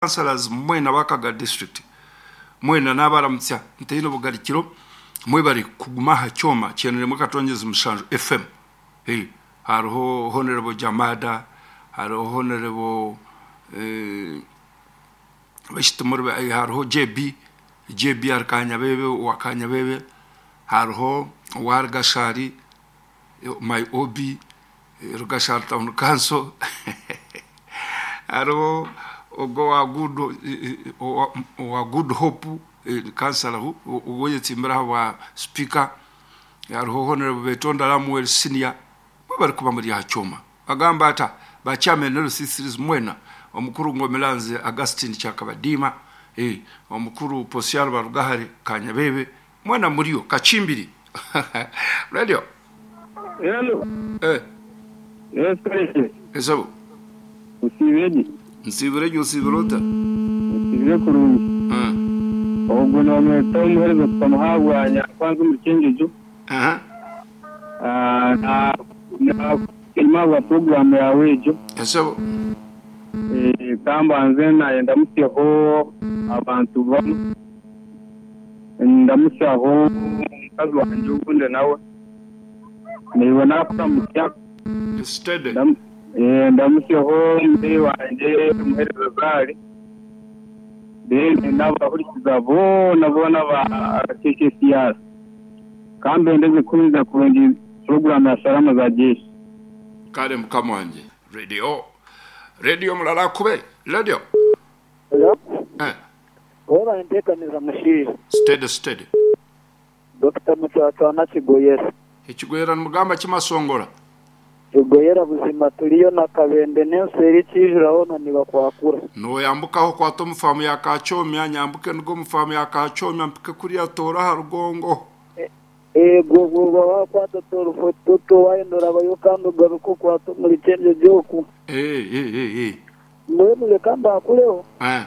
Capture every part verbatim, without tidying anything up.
Councillors mwena bakaga district mwena n'abaramutsya ntaine obugarikiro mwebare kuguma aha kyoma kyenuremu katongezi mushanju F M. Hey, hariho Honorable Jamada, hariho Honorable eh, Bashitimuri, hariho J B J B ari Kanyabebe wa Kanyabebe, hariho owa Rugashari, my O B, Rugashari Town Council, hariho ogwo wa good owa Good Hope, kansala oweyetsimbire aha bwa speaker, hariho Honorable Betonda Ramuel Senior. Bari kuba muri aha kyoma bagamba ata ba chairman L C threes mwena, omukuru Ngomilanze Augustine Kyakabadiima, eh, omukuru Posiano Barugahare Kanyabebe, mwena muriyo kachimbiri radio. Hello. eh Yes, Kaleke. Esabo. Usibege. Nsibire gyo, usibire ota? Usibire kurungi. Mm. Ogwo nomweta omuhereza tukamuhabwanya kwanza omu Kyenjojo. Aha. Ah, na na enyuma program yawe egyo. Esabo. Eh, kambanze naye ndamusyaho abantu bamwe. Ndamusyaho omukazi wangye ogundi nawe. Niiwe nakuramutya. Steady. Ndam- eh, ndamusyaho omuzeeyi wangye omuhereza Zari. Then n'abahurikiza boona boona ba K K C R. Kambendeze kuhuriza kurungi program ya Salama za Jeshi. Kale mukama wanje. Radio, radio mulala kube radio. Hello? eh Weba nteekaniza mushiija. Steady, steady. Dokita Mucwacwana Kigoyera. Ekigwera nimugamba kimasongora. Kigoyera buzima turiyo na Kabende n'ensi kijuraho na nibakwakura. Noyambukaho kwata omufamu ya Kakyomya, nyambuke nigo omufamu ya Kakyomya mpike kuriya toora aha rugongo. Ego bwoba wakwata torufototo wayendora kandi ugaruka okwata omuri Kyenjojo oku. Eh, eh, eh, eh. Mbwenu reka mbakureho. Eh.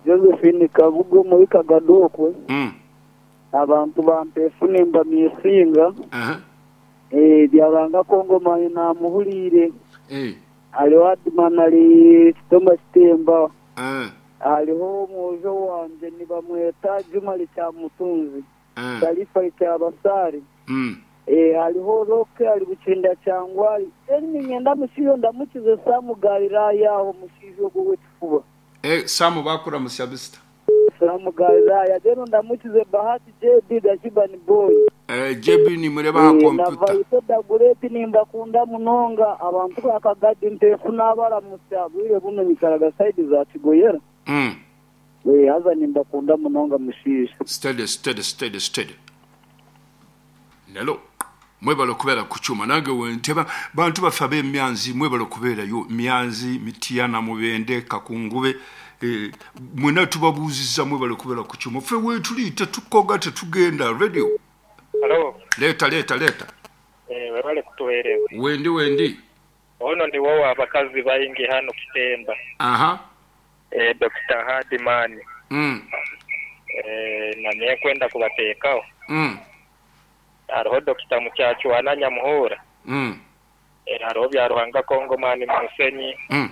Josephine Kabugo muri Kagado okwe. Mm. Abantu bampefu nimba misinga. Aha. Eh, byabanga Kongo mani namuhuriire. Eh. Hariho Adman ari Kitomba Kitemba. Eh. Hariho omwojo wanje nibamweta Juma Likyamutunzi. Eh. Sharifa Likyabasari. Mm. Eh, hariho Roke ari Bukinda Kyangwari. Eri ninyenda mushiyo ndamukize Samu Galilaya aho mushijo ogwo w'ekifuba. Eh, Samu bakuramusya bisita. Samu Galilaya rero ndamukize Bahati J B Gashibani Boy. Eh, J B nimureba aha Eh, na kompyuta. Vaito Dagureti nimbakunda munonga abantu bakagadi ntefu n'abaramutsa bwire buno nyikaraga side za Kigoyera. Mm. Eh, haza nimbakunda munonga mushiija. Steady, steady, steady, steady. Nelo mwebale okubeera ku kyuma nange wenteba bantu baffe ab'emyanzi, mwebale okubeerayo, Myanzi, Mitiyana, Mubende, Kakungube, eh, mwena tubabuuziza, mwebale okubeera ku kyuma. Ffe weetuli tetukoga, tetugenda. Radio. Halo, leeta, leeta, leeta. eh, webale kutuweereza. Wendi, wendi. Ono ndi wowe abakazi baingi hano Kitemba. Aha. Eh, Doctor Hardman. mm. Eh, nanye kwenda kubateekaho. Mm. Hariho Doctor Mukyachwana Nyamuhura. Mm. Eh, hariho Byaruhanga Kongomani Musenyi. Mm.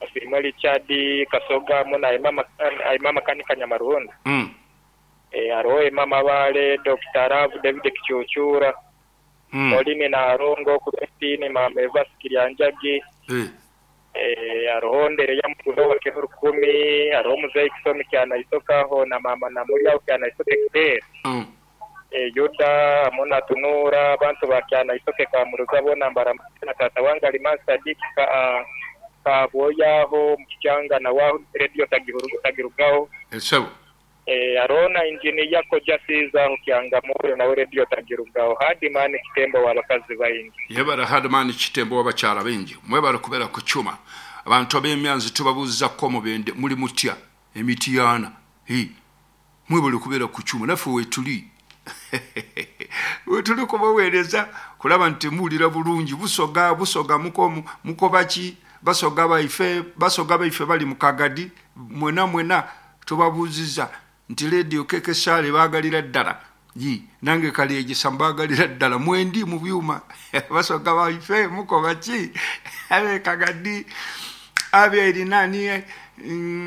Asima Richard Kasoga muna Imama Imama Kanika Nyamaruhunda. Mm. Eh, hariho Imama Bale Doctor Rav David Kichuchura. Mm. Pauline Narongo Christine Mama Eva Sikiryanjagi. Eh. Eh, hariho ndere ya mukuru wa Rukumi, hariho muzeyi Kisomi kyanaisokaho na mama Namulya kyanaisoke Claire. Mm. Eh, Yuda amuna tunura abantu ba kyanaisoke kamuruza bona mbara na tata wange Aliman Sadiki ka kaboyaho mukicyanga na waho radio tagirugaho tagirugaho. Esebo. Eh, arona injiniya koja siza kyanga moyo nawe radio tagirugaho Hadimani Kitembo wabakazi baingi. Yebara Hadman Kitembo w'abakyala bingi, mwebale kubeera ku kyuma. Abantu ab'emyanzi tubabuuzako, Mubende muli mutya, Emitiyana? Hi. Mwebale kubeera ku kyuma, naffe weetuli wetuli kubaweereza kulaba nti muwulira bulungi. Busoga, Busoga muko mukoba ki? Basoga baife, Basoga baife bali mu Kagadi, mwena mwena tubabuuziza nti Radio Kekesale baagalira ddala. Yi nange Kalyegisa mbaagalira ddala, mwendi mu byuma. Basoga baife mukoba ki ab'e Kagadi, ab'erinani? mm,